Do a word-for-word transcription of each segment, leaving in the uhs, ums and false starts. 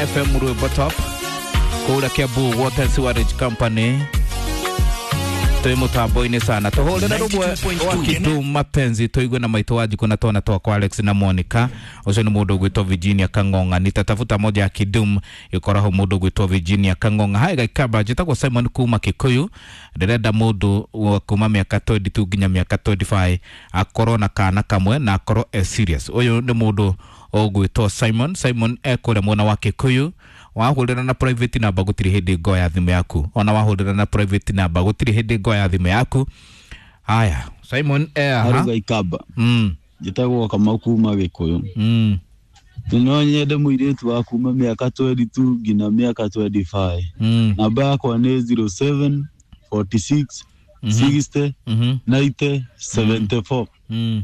F M Rwimbo Top kũrĩa Kiambu Water Sewerage Company twĩ mũtambo-inĩ sana tũhũrĩre rũmwe wa Kidu Mapenzi tũigue na maitũ wa njikũ na twana twakwa Alex na Monica. Ũcio nĩ mũndũ ũgwĩtwo Virginia Kang'ong'a. Nitatafuta moja ya Kidum ĩkoragwo mũndũ ũgwĩtwo Virginia Kang'ong'a. Hai Gaikamba, njĩtagwo Simon kuma Kikuyu, ndĩrenda mũndũ wa kuma mĩaka twenty two nginya mĩaka twenty five akorwo na kana kamwe na akorwo e serious. Ũyũ nĩ mũndũ ũgwĩtwo Simon. Simon ekũrĩa mwena wa Kikuyu. Wahũrĩra na private number gũtirĩ hĩndĩ ngoya thimũ yaku, ona wahũrĩra na private number gũtirĩ hĩndĩ ngoya thimũ yaku. Haya, Simon eh aha. Haruga Ikamba. Mm. Njĩtagwo Kamau kuma Gĩkũyũ. Mm. No nyende mũirĩtu wa kuma mĩaka twenty two nginya mĩaka twenty five. Mm. Namba yakwa nĩ zero seven forty six sixty Mhm. ninety seventy four. Mm.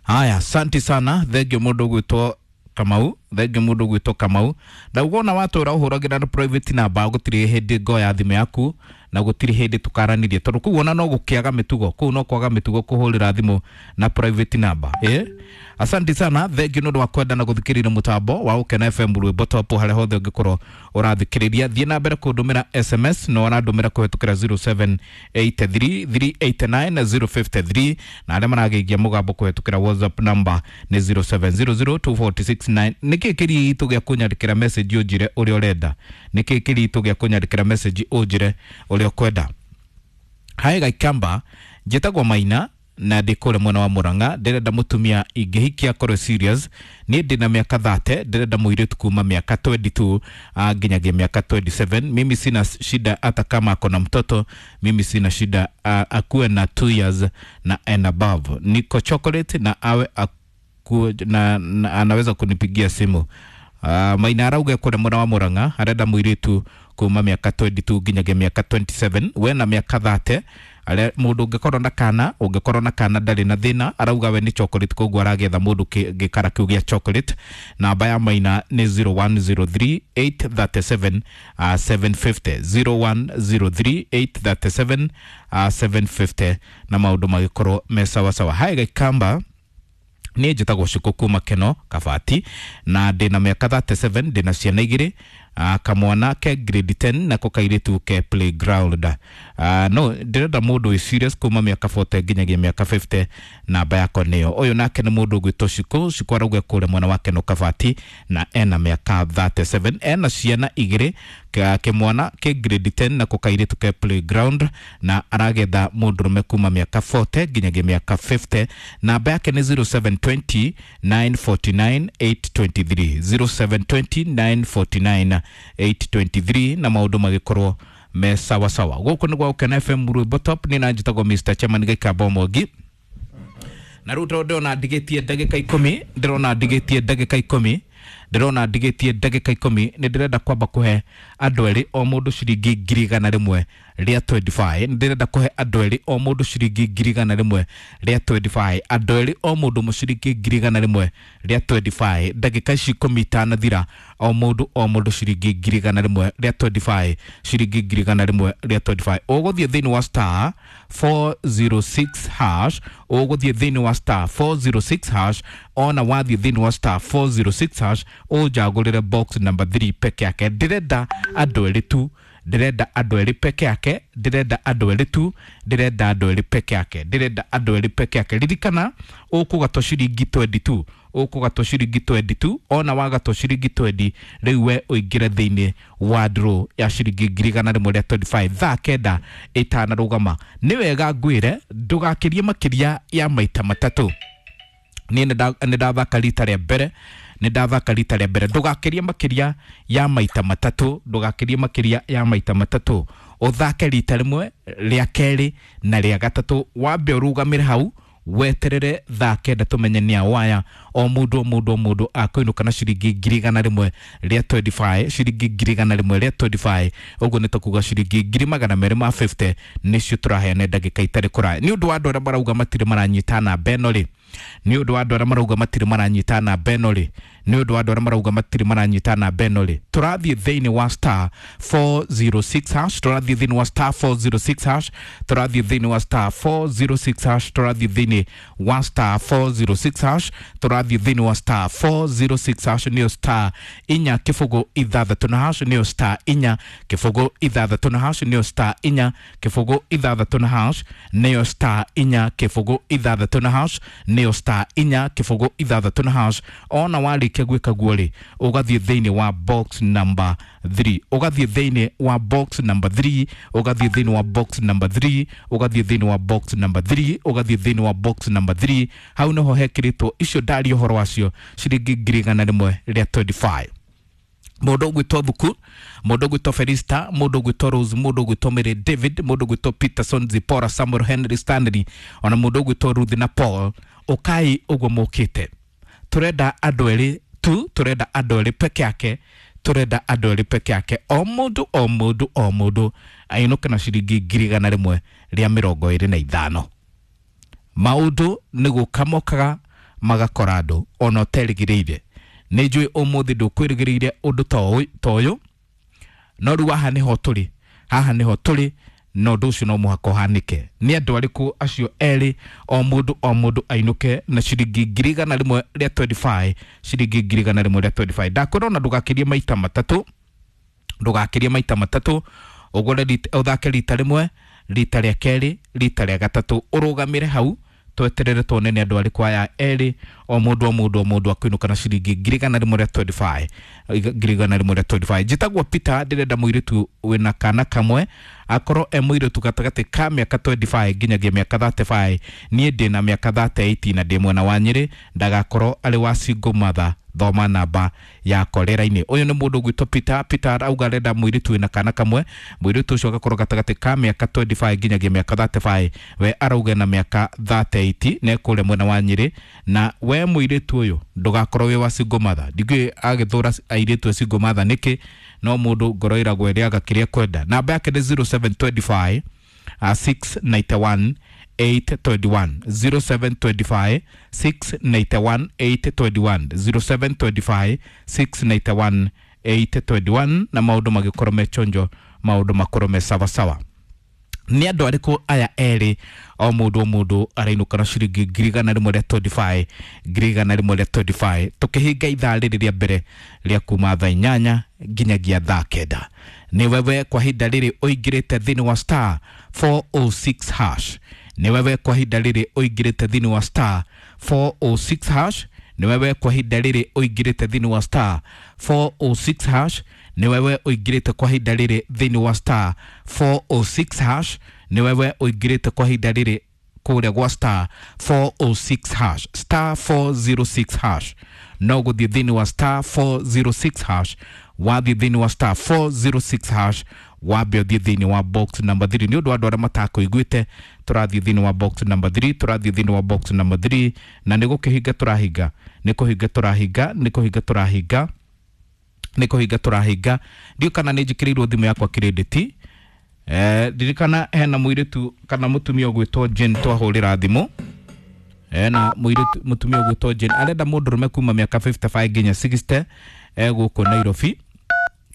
Haya, asante sana. Thengio mũndũ ũgwĩtwo Kamau, thengio mũndũ ũgwĩtwo Kamau. Ndauga ona watũra ũhũragĩra na private number gũtirĩ hĩndĩ ngoya thimũ yaku na gũtirĩ hĩndĩ tũkaranĩrie, tondũ kũu ona no gũkĩaga mĩtugo, kũu no kwaga mĩtugo kũhũrĩra thimũ na private number. Eh, asante sana, thengio nĩ ũndũ wa kwenda na gũthikĩrĩria mũtambo wa Gũkena F M Rwimbo Top harĩa hothe ũngĩkorwo ũrathikĩrĩria. Thiĩ na mbere kũndũmĩra S M S no ũrandũmĩra kũhĩtũkĩra zero seven eight three three eight nine zero five three, na arĩa maragĩigia mũgambo kũhĩtũkĩra WhatsApp number nĩ zero seven zero zero two four six nine. Nĩkĩ kĩritũ gĩa kũnyandĩkĩra message ũnjĩre ũrĩa ũrenda? Nĩkĩ kĩritũ gĩa kũnyandĩkĩra message ũnjĩre ũrĩa ũkwenda? Hai Gaikamba, njĩtagwo Maina na ndĩ kũrĩa mwena wa Murang'a. Ndĩrenda mũtumia ingĩhikia akorwo serious. Niĩ ndĩna mĩaka thirty, ndĩrenda mũirĩtu kuma mĩaka twenty two nginyagia mĩaka twenty seven. Mimi sina shida hata kama ako na mtoto, mimi sina shida, akuwe na two years na and above. Niko chocolate na awe aku, na, na anaweza kunipigia simu. Uh, Maina arauga kũrĩa mwena wa Murang'a arenda mũirĩtu kuma mĩaka twenty two nginyagia mĩaka twenty seven, we na mĩaka thirty. Are mũndũ ũngĩkorwo na kana, ũngĩkorwo na kana ndarĩ na thĩna, arauga we nĩ chocolate, koguo aragetha mũndũ gĩkara kĩu gĩa chocolate. Namba ya Maina nĩ zero one zero three eight thirty seven, uh, seven fifty, zero one zero three eight thirty seven, uh, seven fifty, na maũndũ magĩkorwo me sawasawa. Hai Gaikamba, niĩ njĩtagwo Shukũ kuma Keno Kabati na ndĩna mĩaka thirty seven, ndĩna ciana igĩrĩ, uh, kamwana ke grade ten nako kairĩtu ke playground. Uh, no ndĩrenda mũndũ wĩ serious kuma mĩaka forty nginyagia mĩaka fifty, namba yakwa nĩyo. Ũyũ nake nĩ mũndũ ũgwĩtwo Shukũ. Shukũ arauga kũrĩa mwena wa Keno Kabati na ena mĩaka thirty seven, ena ciana igĩrĩ, kĩmwana ke grade ten nako kairĩtu ke playground, na aragetha mũndũrũme kuma mĩaka forty nginyagia mĩaka fifty. Namba yake nĩ zero seven twenty nine forty nine eight twenty three, zero seven twenty nine forty nine eight twenty three, na maũndũ magĩkorwo me sawa sawa. Gũkũ nĩ gwa Gũkena F M Rwimbo Top, nĩ na njĩtagwo Mister Chairman Gaikamba Mwangi. Na rĩu tondũ ndĩrona ndigĩtie ndagĩka ikũmi, ndĩrona ndigĩtie ndagĩka ikũmi, ndĩrona ndigĩtie ndagĩka ikũmi, nĩ ndĩrenda kwamba kũhe andũ erĩ o mũndũ ciringi ngiri igana rĩmwe rĩa twenty five. Nĩ ndĩrenda kũhe andũ erĩ o mũndũ ciringi ngiri igana rĩmwe rĩa twenty five, andũ erĩ o mũndũ mũciringi ngiri igana rĩmwe rĩa twenty five. Ndagĩka ici ikũmi itanathira, o mũndũ o mũndũ ciringi ngiri igana rĩmwe rĩa twenty five, ciringi ngiri igana rĩmwe rĩa twenty five. Ũgũthiĩ thĩinĩ wa star four zero six hash, ũgũthiĩ thĩinĩ wa star four zero six hash, ona wathiĩ thĩinĩ wa star four zero six hash ũnjagũrĩre box number three peke yake. Ndĩrenda andũ erĩ tu, ndĩrenda andũ erĩ peke yake, ndĩrenda andũ erĩ tu, ndĩrenda andũ erĩ peke yake, ndĩrenda andũ erĩ peke yake. Ririkana ũkũgatwo ciringi twenty two, ũkũgatwo ciringi twenty two, ona wagatwo ciringi twenty rĩu we ũingĩre thĩinĩ wa draw ya ciringi ngiri igana rĩmwe rĩa twenty five thaa kenda ĩtanarũgama. Nĩ wega ngwĩre ndũgakĩrie makĩria ya maita matatũ. Niĩ nĩ ndathaka rita rĩa mbere, nĩ ndathaka rita rĩa mbere, ndũgakĩrie makĩria ya maita matatũ, ndũgakĩrie makĩria ya maita matatũ. Ũthake rita rĩmwe, rĩa kerĩ na rĩa gatatũ, wambe ũrũgamĩre hau weterere thaa kenda tũmenye nĩ awaya. O mũndũ o mũndũ o mũndũ akũinũka na ciringi ngiri igana rĩmwe rĩa twenty five, ciringi ngiri igana rĩmwe rĩa twenty five, ũguo nĩ tũkuga ciringi ngiri magana merĩ ma fifty nĩcio tũraheana ndagĩka itarĩ kũraya. Nĩ ũndũ wa andũ arĩa marauga matirĩ maranyita namba ĩno rĩ, nĩ ũndũ wa andũ arĩa marauga matirĩ maranyita namba ĩno rĩ, Nĩ ũndũ wa andũ arĩa marauga matirĩ maranyita namba ĩno rĩ, tũrathiĩ thĩinĩ wa star four zero six hash, tũrathiĩ thĩinĩ wa star four zero six hash, tũrathiĩ thĩinĩ wa star four zero six hash, tũrathiĩ thĩinĩ wa star four zero six hash, tũrathiĩ thĩinĩ wa star four zero six hash, nĩyo star inya kĩbũgũ ithathatũ na hash, nĩyo star inya kĩbũgũ ithathatũ na hash, nĩyo star inya kĩbũgũ ithathatũ na hash, nĩyo star inya kĩbũgũ ithathatũ na hash, nĩyo star inya kĩbũgũ ithathatũ na hash. Ona warĩkia gwĩka guo rĩ, ũgathiĩ thĩinĩ wa box number three, ũgathiĩ thĩinĩ wa box number three, ũgathiĩ thĩinĩ wa box number three, ũgathiĩ thĩinĩ wa box number three, ũgathiĩ thĩinĩ wa box number three. Hau nĩho hekĩrĩtwo icio ndaria ũhoro wacio, ciringi ngiri igana rĩmwe rĩa mĩrongo ĩrĩ na ithano. Mũndũ ũgwĩtwo Thuku, mũndũ ũgwĩtwo Felista, mũndũ ũgwĩtwo Rose, mũndũ ũgwĩtwo Mary David, mũndũ ũgwĩtwo Peterson, Zipora, Samuel, Henry, Stanley, ona mũndũ ũgwĩtwo Ruth na Paul, ũkai ũguo mũkĩte. Tũrenda andũ erĩ tu, tũrenda andũ erĩ peke yake, tũrenda andũ erĩ peke yake. O mũndũ, o mũndũ, o mũndũ ainũke na ciringi ngiri igana rĩmwe rĩa mĩrongo ĩrĩ na ithano. Maũndũ nĩ gũka mokaga magakora andũ ona ũterĩgĩrĩire. Nĩ njũĩ ũmũthĩ ndũkwĩrĩgĩrĩire ũndũ ta ũyũ- ta ũyũ, no rĩu haha nĩho tũrĩ, haha nĩho tũrĩ, na ũndũ ũcio no mũhaka ũhanĩke. Nĩ andũ arĩkũ acio erĩ, o mũndũ, o mũndũ ainũke na ciringi ngiri igana rĩmwe rĩa mĩrongo ĩrĩ na ithano, ciringi ngiri igana rĩmwe rĩa mĩrongo ĩrĩ na ithano? Ndakwĩra ona ndũgakĩrie maita matatũ, ndũgakĩrie maita matatũ. Ũgũre rita- ũthake rita rĩmwe, rita rĩa kerĩ, rita rĩa gatatũ, ũrũgamĩre hau tweterere tuone nĩ andũ arĩkũ aya erĩ, o mũndũ, o mũndũ, o mũndũ akũinũka na ciringi ngiri igana rĩmwe rĩa mĩrongo ĩrĩ na ithano, ngiri igana rĩmwe rĩa mĩrongo ĩrĩ na ithano. Njĩtagwo Peter, ndĩrenda mũirĩtu wĩna kana kamwe, akorwo e mũirĩtu gatagatĩ ka mĩaka mĩrongo ĩrĩ na ithano nginyagia mĩaka mĩrongo ĩtatũ na ithano. Niĩ ndĩna mĩaka mĩrongo ĩtatũ na ĩnana na ndĩ mwena wa Nyĩrĩ. Ndagakorwo arĩ wa single mother. Thoma namba ya korera-inĩ. Ũyũ nĩ mũndũ ũgwĩtwo Peter. Peter arauga arenda mũirĩtu wĩna kana kamwe, mũirĩtu ũcio agakorwo gatagatĩ ka mĩaka mĩrongo ĩrĩ na ithano nginyagia mĩaka mĩrongo ĩtatũ na ithano. We arauga na mĩaka mĩrongo ĩtatũ na ĩnana na ekũrĩa mwena wa Nyĩrĩ. Na we mũirĩtu ũyũ ndũgakorwo wĩ wa single mother. Ndigũĩ agĩthũra airĩtu a single mother nĩkĩ, no mũndũ ngoro ĩragwo ĩrĩaga kĩrĩa kwenda. Namba yake nĩ zero seven two five uh, six nine one eight two one, zero seven two five six nine one eight two one, zero seven two five six nine one eight two one. Na maũndũ magĩkorwo me chonjo, maũndũ makorwo me sawasawa. Nĩ andũ arĩkũ aya erĩ, o mũndũ, o mũndũ arainũka na ciringi ngiri igana rĩmwe rĩa mĩrongo ĩrĩ na ithano, ngiri igana rĩmwe rĩa mĩrongo ĩrĩ na ithano, tũkĩhinga ithaa rĩrĩ rĩa mbere rĩa kuma thaa inyanya nginyagia thaa kenda? Nĩ wewe kwa ihinda rĩrĩ ũingĩrĩte thĩinĩ wa star four zero six hash. Nĩ wewe kwa ihinda rĩrĩ ũingĩrĩte thĩinĩ wa star four zero six hash. Nĩ wewe kwa ihinda rĩrĩ ũingĩrĩte thĩinĩ wa star four zero six hash. Nĩ wewe ũingĩrĩte kwa ihinda rĩrĩ thĩinĩ wa star four zero six hash. Nĩ wewe ũingĩrĩte kwa ihinda rĩrĩ kũrĩa gwa star four zero six hash, star four zero six hash. No gũthiĩ thĩinĩ wa star four zero six hash. Wathiĩ thĩinĩ wa star four zero six hash, wambe ũthiĩ thĩinĩ wa box number three. Nĩ ũndũ wa andũ arĩa matakũiguĩte, tũrathiĩ thĩinĩ wa box number three, tũrathiĩ thĩinĩ wa box number three, na nĩ gũkĩhinga tũrahinga, nĩ kũhinga tũrahinga, nĩ kũhinga tũrahinga, nĩ kũhinga tũrahinga. Ndiũ kana nĩ njĩkĩrĩirwo thimũ yakwa credit. Eh, ndirikana hena mũirĩtu kana mũtumia ũgwĩtwo Jane twahũrĩra thimũ. Hena mũirĩtu, mũtumia ũgwĩtwo Jane, arenda mũndũrũme kuma mĩaka mĩrongo ĩtano na ithano nginya mĩrongo ĩnana, e gũkũ Nairobi.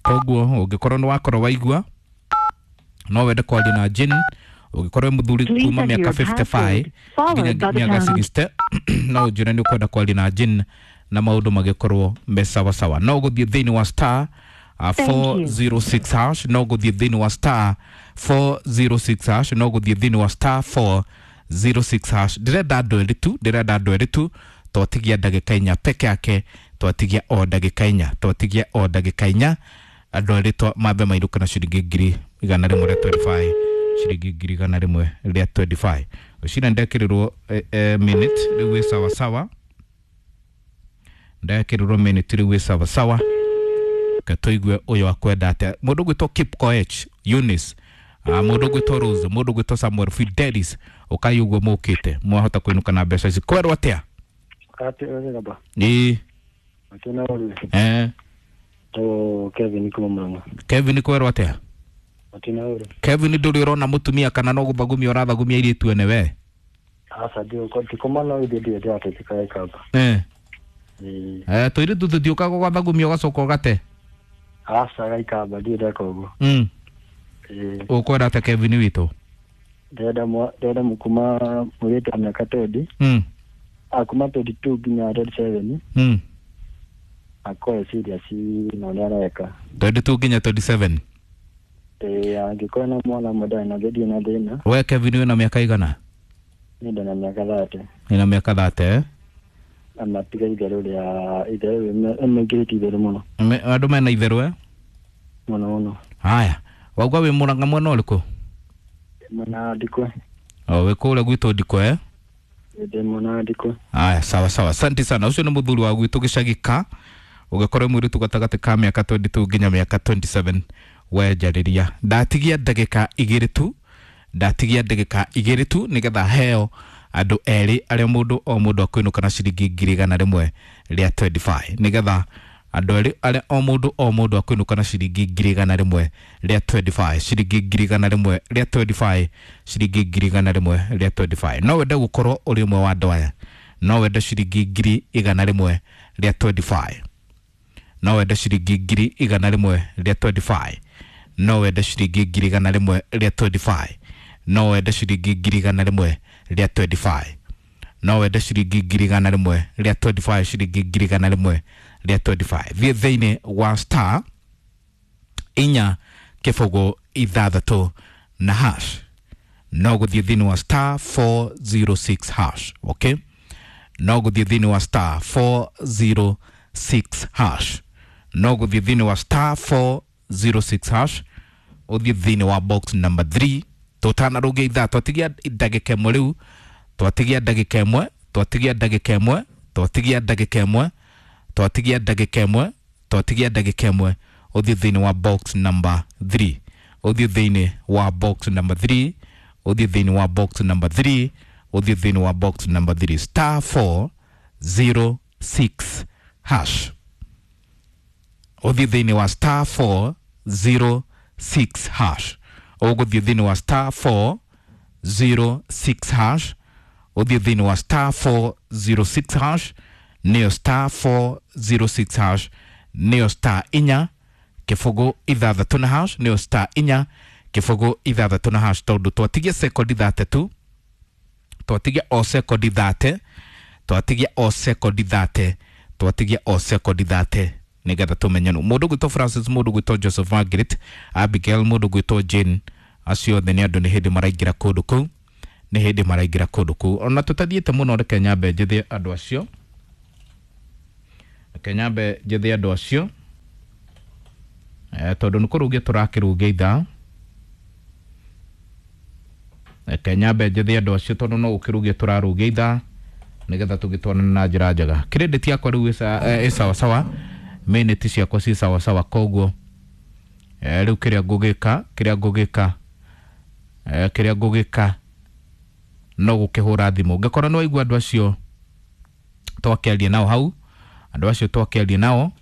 Koguo ũngĩkorwo nĩ wakorwo waigua no wende kwaria na Jane, ũngĩkorwo wĩ mũthuri kuma mĩaka mĩrongo ĩtano na ithano nginya mĩaka mĩrongo ĩnana, no ũnjĩre nĩ ũkwenda kwaria na Jane na maũndũ magĩkorwo me sawasawa. No gũthiĩ thĩinĩ wa star uh, four zero six hash, no gũthiĩ thĩinĩ wa star four zero six hash, no gũthiĩ thĩinĩ wa star four zero six hash. Ndĩrenda andũ erĩ tu, ndĩrenda andũ erĩ tu. Twatigia ndagĩka inya peke yake, twatigia o ndagĩka inya, twatigia o ndagĩka inya. Andũ erĩ twa mambe mainũke na ciringi ngiri igana rĩmwe rĩa mĩrongo ĩrĩ na ithano, ciringi ngiri igana rĩmwe rĩa mĩrongo ĩrĩ na ithano. Ũcina ndekĩrĩrwo eh, eh, minute rĩu wĩ sawasawa, ndekĩrĩrwo minute rĩu wĩ sawasawa. Ke tũigue ũyũ akwenda atĩa. Mũndũ ũgwĩtwo Kip Koech, Eunice, uh, mũndũ ũgwĩtwo Rose, mũndũ ũgwĩtwo Samuel Fidelis, ũkai ũguo mũkĩte mwahota kũinũka na mbeca ici. Kwerwo atĩa? Ati gaba. Ĩĩ. Atena uri. Eh. To Kevin kuma Murang'a. Kevin, kwerwo atĩa? Atina uri. Kevin, ndũrĩ ũrona mũtumia kana no gũthagumia ũrathagumia airĩtu ene we? Asa ndio kwa tikoma no ide ndio ndio ati kaya kaba. Eh. Ĩĩ. Eh tũirĩtu tũtiũkaga gwathagumia ũgacoka ũgate. Aca gaikamba ndirĩ ndeka ũguo. Mm. Ĩĩ. Ũkwenda atĩa Kevin witũ? Ndĩrenda mwa- ndĩrenda kuma mũirĩtu wa mĩaka twenty. Mm. Ah, kuma twenty two nginya twenty seven. Mm. Akorwo serious na ũrĩa areka. twenty two nginya twenty seven. Ĩĩ, angĩkorwo na mwana ũmwe ndarĩ na ndirĩ na thĩna. We Kevin wĩna mĩaka igana? Niĩ ndĩna mĩaka thirty. Wĩna mĩaka thirty eh? Na matiga itherũ rĩa itherũ mekĩrĩte itherũ mũno. Me- Andũ mena itherũ eh? Mũno mũno. Haya. Wauga wĩ Mũrang'a mwena ũrĩkũ? Mwena Ndikwe. O wĩ kũrĩa gwitũ Ndikwe eh? Ndĩ mwena Ndikwe. Aya, sawa sawa, asante sana. Ũcio nĩ mũthuri wa gwitũ gĩcagi ka ũgĩkorwo mũirĩtu gatagatĩ ka mĩaka twenty two nginya mĩaka twenty seven wenjarĩria. Ndatigia ndagĩka igĩrĩ tu, ndatigia ndagĩka igĩrĩ tu nĩgetha heo andũ erĩ arĩa mũndũ o mũndũ akũinũka na ciringi ngiri igana rĩmwe rĩa twenty five, nĩgetha andũ erĩ arĩa o mũndũ o mũndũ akũinũka na ciringi ngiri igana rĩmwe rĩa twenty five, ciringi ngiri igana rĩmwe rĩa twenty five, ciringi ngiri igana rĩmwe rĩa twenty five. No wende gũkorwo ũrĩ ũmwe wa andũ aya, no wende ciringi ngiri igana rĩmwe rĩa twenty five, no wende ciringi ngiri igana rĩmwe rĩa twenty five, no wende ciringi ngiri igana rĩmwe rĩa twenty five, no wende ciringi ngiri igana rĩmwe rĩa twenty five, no wende ciringi ngiri igana rĩmwe rĩa twenty five, ciringi ngiri igana rĩmwe rĩa twenty five. Thiĩ thĩinĩ wa star inya kĩbũgũ ithathatũ na hash, no gũthiĩ thĩinĩ wa star four zero six hash. Okay, no gũthiĩ thĩinĩ wa star four zero six hash, no gũthiĩ thĩinĩ wa star four zero six hash, ũthiĩ thĩinĩ wa box number three. Tũtanarũgia ithaa, twatigia ndagĩka ĩmwe rĩu, twatigia ndagĩka ĩmwe, twatigia ndagĩka ĩmwe, twatigia ndagĩka ĩmwe, twatigia ndagĩka ĩmwe, twatigia ndagĩka ĩmwe, ũthiĩ thĩinĩ wa box number three, ũthiĩ thĩinĩ wa box number three, ũthiĩ thĩinĩ wa box number three, ũthiĩ thĩinĩ wa box number three, star four zero six hash, ũthiĩ thĩinĩ wa star four zero six hash, ũgũthiĩ thĩinĩ wa star four zero six hash, ũthiĩ thĩinĩ wa star four zero six hash, nĩyo star four zero six hash, nĩyo star inya kĩbũgũ ithathatũ na hash, nĩyo star inya kĩbũgũ ithathatũ na hash. Tondũ twatigia sekondi thate tu, twatigia o sekondi thate, twatigia o sekondi thate, twatigia o sekondi thate nĩgetha tũmenye nũ. Mũndũ gwĩtwo Francis, mũndũ gwĩtwo Joseph Margaret, Abigail, mũndũ gwĩtwo Jane, acio othe nĩ andũ nĩ hĩndĩ maraingĩra kũndũ kũu, nĩ hĩndĩ maraingĩra kũndũ kũu. Ona tũtathiĩte mũno, reke nyambe njĩthe andũ acio, reke nyambe njĩthe andũ acio eh, tondũ nĩ kũrũgia tũrakĩrũgia ithaa. Reke nyambe njĩthe andũ acio tondũ no gũkĩrũgia tũrarũgia ithaa nĩgetha tũgĩtwarane na njĩra njega. Credit yakwa rĩu ĩ sawa sawa, minute ciakwa ci sawa sawa, koguo eh, rĩu kĩrĩa ngũgĩka, kĩrĩa ngũgĩka, eh, kĩrĩa ngũgĩka no gũkĩhũra thimũ. Ngĩkorwo nĩ waigua andũ acio twakĩaria nao hau, andũ acio twakĩaria nao,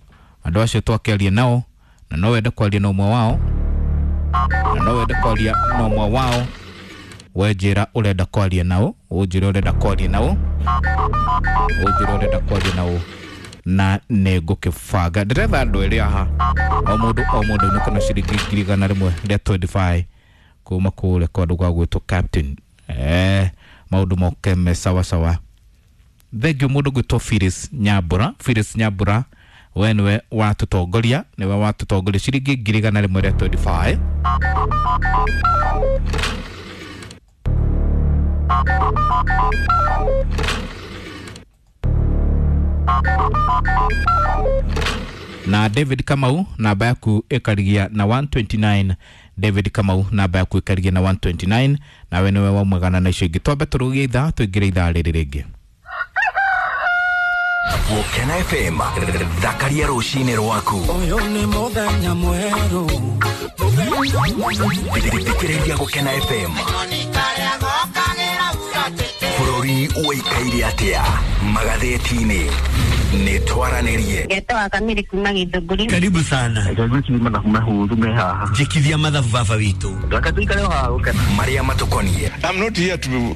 andũ acio twakĩaria nao, na no wende kwaria na ũmwe wao, na no wende kwaria na ũmwe wao, we njĩra ũrenda kwaria nao, ũnjĩre ũrenda kwaria nao, ũnjĩre ũrenda kwaria nao, na nĩ ngũkĩbanga. Ndĩretha andũ erĩ haha, o mũndũ o mũndũ ainũke na ciringi ngiri igana rĩmwe rĩa twenty five kuma kũrĩa kwa andũ gwa gwĩtwo Captain. Eh, maũndũ moke me sawa sawa. Thengiũ mũndũ gwĩtwo Phyllis Nyambura, Phyllis Nyambura, we nĩwe watũtongoria, nĩwe watũtongoria ciringi ngiri igana rĩmwe rĩa twenty five. Na David Kamau, namba yaku ĩkarigia na one twenty nine. David Kamau, namba yaku ĩkarigia na one twenty nine, nawe nĩwe waumagana na icio ingĩ. Twambe tũrũgie ithaa, tũingĩre ithaa rĩrĩ rĩngĩ. Gũkena F M, thakaria rũcinĩ rwaku. Ũyũ nĩ mũthenya mwerũ. Thikĩrĩria Gũkena F M. Bũrũri ũikaire atĩa magathĩti-inĩ. Nĩ twaranĩrie. Ngetawa Kamiri kuma Githũngũri. Karibu sana. Njĩkithia mathabu baba witũ. Marĩa matũkoniĩ. I'm not here to,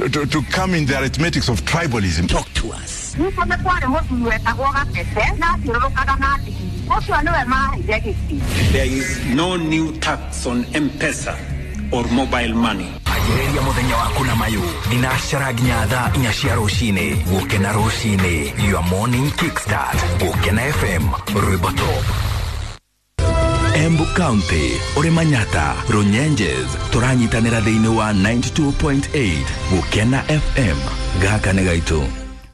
to, to come in the arithmetics of tribalism. Talk to us. Nĩkuo nĩ kwarĩ mũthuri wetagwo Gatete na athiũrũrũkaga na ndigiri. Ũcio nĩwe maheire gĩtĩ. There is no new tax on M-Pesa or mobile money. Anjĩrĩria mũthenya waku na mayũ thinacara nginya thaa inya cia rũcinĩ. Gũkena rũcinĩ, your morning kickstart. Gũkena F M, rwĩmbo top. Embu County, ũrĩ Manyata, Runyenjes, tũranyitanĩra thĩinĩ wa ninety-two point eight Gũkena F M. Gaka nĩ gaitũ.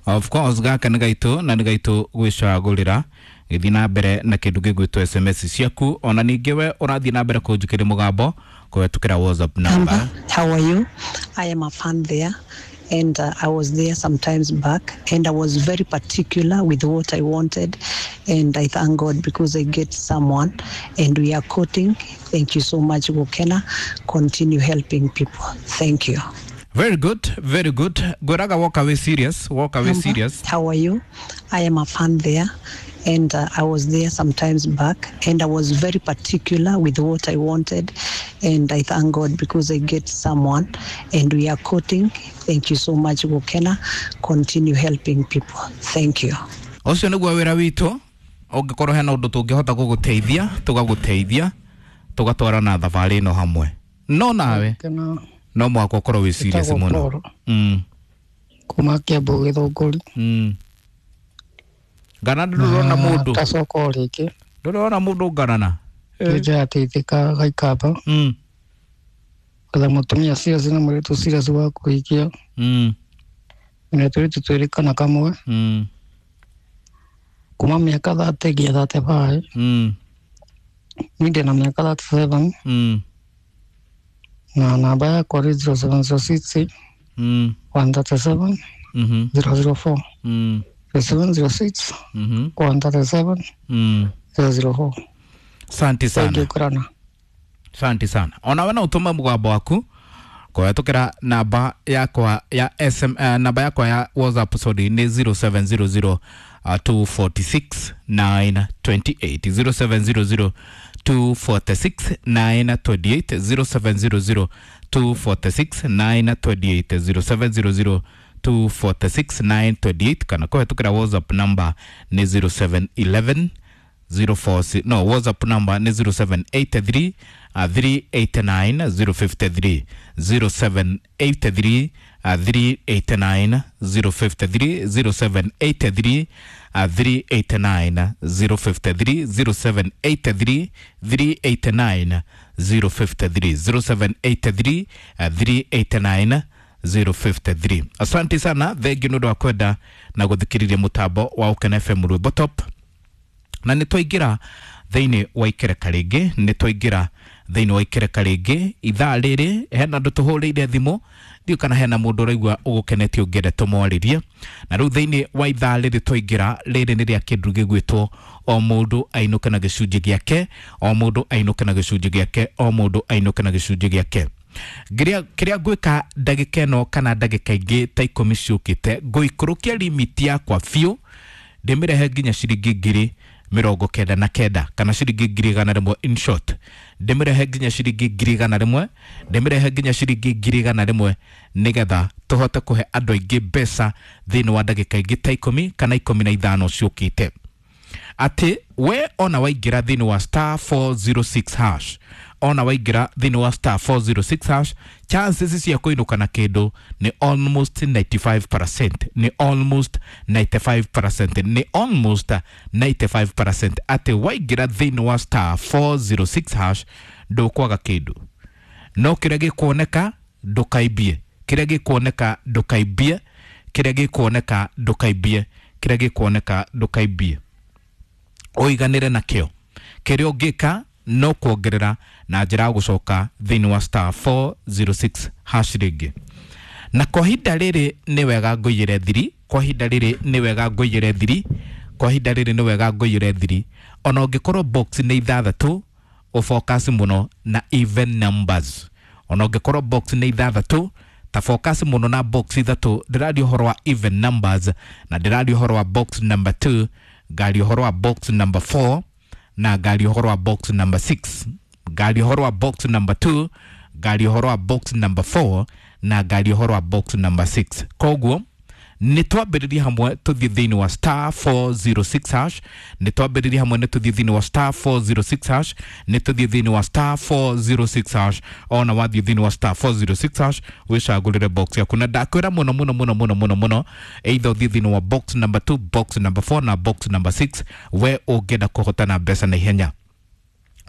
Of course gaka nĩ gaitũ na nĩ gaitũ gwĩcagũrĩra. Gĩthiĩ na mbere na kĩndũ gĩgwĩtwo S M S ciaku, ona ningĩ we ũrathiĩ na mbere kũnjũkĩria mũgambo kũhetũkĩra WhatsApp number. How are you? I am a fan there. And uh, I was there sometimes back, and I was very particular with what I wanted, and I thank God because I get someone and we are quoting. Thank you so much, Gukena. Continue helping people. Thank you. Very good, very good. Goraga, walk away serious, walk away Number, serious. How are you? I am a fan there, and uh, I was there sometimes back, and I was very particular with what I wanted, and I thank God because I get someone and we are quoting. Thank you so much, Gukena. Continue helping people. Thank you. Ũcio nĩguo wĩra witũ. Ũngĩkorwo hena ũndũ tũngĩhota gũgũteithia, tũgagũteithia, tũgatwarana thabarĩ ĩno hamwe. No nawe no mũhaka ũkorwo wĩ serious mũno. Mm. Kuma Kiambu Gĩthũngũri. Mm. Ngana ndũrona mũndũ. Tacoka o rĩngĩ. Ndũrona mũndũ ngarana. Nĩnjateithĩka gaikamba. Mm. Gwetha mũtumia serious na mũirĩtu serious wa kũhikia. Mm. Na tũirĩtu twĩrĩ kana kamwe. Mm. Kuma mĩaka thirty nginya thirty-five. Mm. Niĩ ndĩna mĩaka thirty-seven. Mm. Na namba yakwa nĩ zero seven zero six Mm. one thirty-seven Mhm. zero zero four. Mm. zero seven zero six Mhm. one thirty-seven Mm. zero zero four. Asante sana. Thank you, Kurana. Asante sana. Ona we no ũtũme mũgambo waku kũhetũkĩra namba yakwa ya S M, uh, namba yakwa ya WhatsApp sorry nĩ zero seven zero zero uh, two four six nine two eight, zero seven zero zero two four six nine two eight, zero seven zero zero two four six nine two eight, zero seven zero zero two four six nine two eight, kana kũhetũkĩra WhatsApp number nĩ zero seven eleven zero four six, no WhatsApp number ni zero seven eight three uh, three eight nine zero five three, zero seven eight three uh, three eight nine zero five three, zero seven eight three uh, three eight nine zero five three, zero seven eight three three eight nine zero five three, zero seven eight three uh, three eight nine zero five three. Asante sana, thengiũ nĩ ũndũ wa kwenda na gũthikĩrĩria mũtambo wa Ũkena F M Rwĩmbo Top. Na nĩ twaingĩra thĩinĩ wa ikereka rĩngĩ, nĩ twaingĩra thĩinĩ wa ikereka rĩngĩ ithaa rĩrĩ hena andũ tũhũrĩire thimũ, ndiũ kana hena mũndũ ũraigua ũgũkenetie ũngĩenda tũmwarĩrie. Na rĩu thĩinĩ wa ithaa rĩrĩ twaingĩra rĩrĩ nĩ rĩa kĩndũ gĩgwĩtwo o mũndũ ainũke na gĩcunjĩ gĩake, o mũndũ ainũke na gĩcunjĩ gĩake, o mũndũ ainũke na gĩcunjĩ gĩake. Kĩrĩa kĩrĩa ngwĩka ndagĩka ĩno kana ndagĩka ingĩ ta ikũmi ciũkĩte, ngũikũrũkia limit yakwa biũ ndĩmĩrehe nginya ciringi ngiri mĩrongo kenda na kenda kana ciringi ngiri igana rĩmwe, in short ndĩmĩrehe nginya ciringi ngiri igana rĩmwe, ndĩmĩrehe nginya ciringi ngiri igana rĩmwe nĩgetha tũhote kũhe andũ aingĩ mbeca thĩinĩ wa ndagĩka ingĩ ta ikũmi kana ikũmi na ithano ciũkĩte. Atĩ we ona waingĩra thĩinĩ wa star four zero six hash, ona waingĩra thĩinĩ wa star four zero six hash, chances cia kũinũka na kĩndũ nĩ almost ninety-five percent, nĩ almost ninety-five percent, nĩ almost ninety-five percent. Atĩ waingĩra thĩinĩ wa star four zero six hash ndũkwaga kĩndũ, no kĩrĩa gĩkuoneka ndũkaimbie, kĩrĩa gĩkuoneka ndũkaimbie, kĩrĩa gĩkuoneka ndũkaimbie, kĩrĩa gĩkuoneka ndũkaimbie, ũiganĩre nakĩo. Kĩrĩa ũngĩka no kuongerera na njĩra ya gũcoka thĩinĩ wa star four zero six hash rĩngĩ. Na kwa ihinda rĩrĩ nĩ wega ngũiyĩre thiri, kwa ihinda rĩrĩ nĩ wega ngũiyĩre thiri, kwa ihinda rĩrĩ nĩ wega ngũiyĩre thiri. Ona ũngĩkorwo box nĩ ithathatũ, ũfocus mũno na even numbers. Ona ũngĩkorwo box nĩ ithathatũ, Ta focus mũno na box ithatũ. Ndĩraria ũhoro wa even numbers, na ndĩraria ũhoro wa box number two, ngaria ũhoro wa box number four, na ngaria ũhoro wa box number six. Ngaria ũhoro wa box number two, ngaria ũhoro wa box number four, na ngaria ũhoro wa box number six. Koguo nä twambä hamwe tũthiĩ thĩinĩ wa star four zero six hash. Nä twambä hamwe nä tũthiĩ thĩinĩ wa star four zero six hash. Nä tũthiĩ thĩinĩ wa star four zero six hash. Ona wathiĩ thĩinĩ wa star four zero six hash, wĩcagũrĩre box yaku, na ndakwĩra mũno mũno mũno mũno mũno mũno, either ũthiĩ thĩinĩ wa box number two, box number four na box number six. We ũngĩenda kũhotana mbeca na ihenya,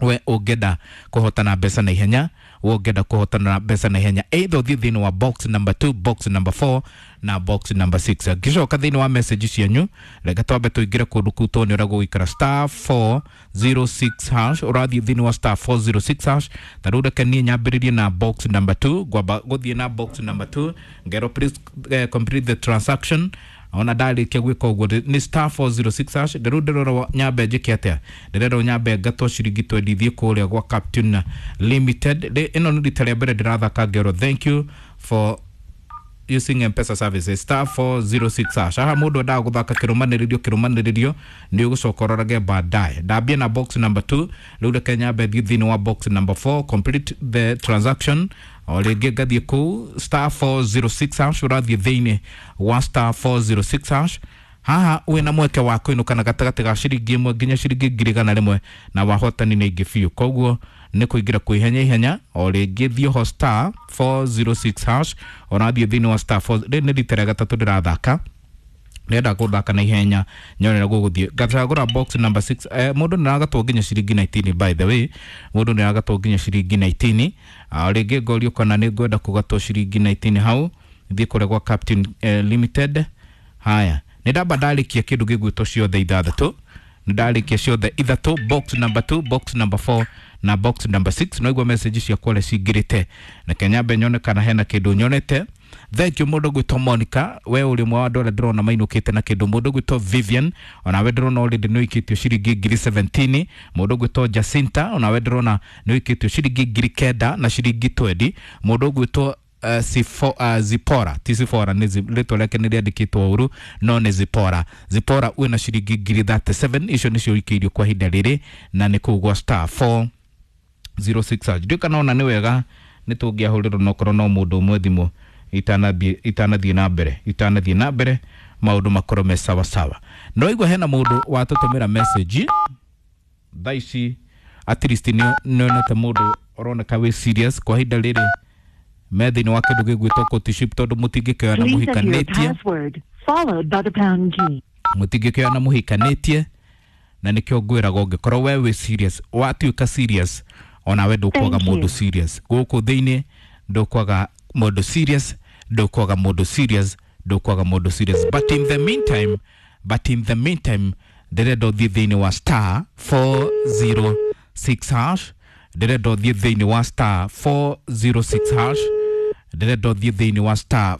we ũngĩenda kũhotana mbeca na ihenya, we ũngĩenda kũhotana mbeca na ihenya, either ũthiĩ thĩinĩ wa box number two, box number four na box number six. Ngĩcoka thĩinĩ wa message cianyu, reke twambe tũingĩre kũndũ kũu tuone ũrĩa gũgũikara. Star four zero six hash, ũrathiĩ thĩinĩ wa star four zero six hash. Ta rĩu reke niĩ nyambĩrĩrie na box number two. Ngwamba gũthiĩ na box number two, ngerwo please uh, complete the transaction. Ona ndarĩkia gwĩka ũguo nĩ star four zero six hash. Rĩu ndĩrerwo nyambe njĩke atĩa? Ndĩrerwo nyambe ngatwo ciringi twendi thiĩ kũrĩa gwa Captain Limited. Ĩno nĩ rita rĩa mbere ndĩrathaka. Ngerwo thank you for using M-Pesa services, star four zero six hash. Haha mũndũ endaga gũthaka kĩrũmanĩrĩrio kĩrũmanĩrĩrio, nĩ ũgũcoka ũrorage baadaye. Ndambia na box number two. Rĩu reke nyambe thiĩ thĩinĩ wa box number four, complete the transaction. O rĩngĩ ngathiĩ kũu star four zero six hash, ũrathiĩ thĩinĩ wa star four zero six hash. Haha wĩna mweke wa kũinũka na gatagatĩ ga ciringi ĩmwe nginya ciringi ngiri igana rĩmwe, na wahotani nĩ aingĩ biũ, koguo nĩ kũingĩra kwĩ ihenya ihenya. O rĩngĩ thiĩ ho star four zero six hash, ũrathiĩ thĩinĩ wa star four. Rĩrĩ nĩ rita rĩa gatatũ ndĩrathaka, ndĩrenda gũthaka na ihenya nyone ũrĩa gũgũthiĩ. Ngacagũra box number six. eh, mũndũ nĩ aragatwo nginya ciringi nineteen. By the way, mũndũ nĩ aragatwo nginya ciringi nineteen. O rĩngĩ ngorio kana nĩ ngwenda kũgatwo ciringi nineteen hau, thiĩ kũrĩa gwa Captain eh, Limited. Haya, nĩ ndamba ndarĩkia kĩndũ gĩgwĩtwo ciothe ithathatũ. Nĩ ndarĩkia ciothe ithatũ, box number two, box number four na box number six. No igua message ciakwa ũrĩa cingĩrĩte. Reke nyambe nyone kana hena kĩndũ nyonete. Thank you, mũndũ gwĩtwo Monica, we ũrĩ ũmwe wa andũ arĩa ndĩrona mainũkĩte na kĩndũ. Mũndũ gwĩtwo Vivian, onawe ndĩrona already nĩ ũikĩtio ciringi ngiri seventeen. Mũndũ gwĩtwo Jacinta, onawe ndĩrona nĩ ũikĩtio ciringi ngiri kenda na ciringi twenty. Mũndũ gwĩtwo uh, Sifo, uh, Zipora, ti Sifora, nĩ rĩtwa rĩake nĩ rĩandĩkĩtwo ũru, no nĩ Zipora. Zipora wĩna ciringi ngiri thirty-seven. Icio nĩcio ũikĩirio kwa ihinda rĩrĩ, na nĩ kũu gwa star four zero six. Ndiũ kana ona nĩ wega nĩ tũngĩahũrĩrwo nokorwo no mũndũ ũmwe thimũ itanathiĩ itanathiĩ na mbere itanathiĩ na mbere maũndũ makorwo me sawa sawa. No igua hena mũndũ watũtũmĩra message thaa ici. At least nĩ nĩonete mũndũ ũroneka wĩ serious kwa ihinda rĩrĩ me thĩinĩ wa kĩndũ gĩgwĩtwo courtship, tondũ mũtingĩkĩoya na Please enter your mũhikanĩtie. Password, followed by the pound key. Mũtingĩkĩoya na mũhikanĩtie, na nĩkĩo ngwĩraga ũngĩkorwo we wĩ serious, watuĩka serious, onawe ndũkwaga Thank mũndũ you. serious gũkũ thĩinĩ. Ndũkwaga mũndũ serious, ndũkwaga mũndũ serious, ndũkwaga mũndũ serious. But in the meantime but in the meantime ndĩrenda ũthiĩ thĩinĩ wa star four zero six hash. Ndĩrenda ũthiĩ thĩinĩ wa star four zero six hash. Ndĩrenda ũthiĩ thĩinĩ wa star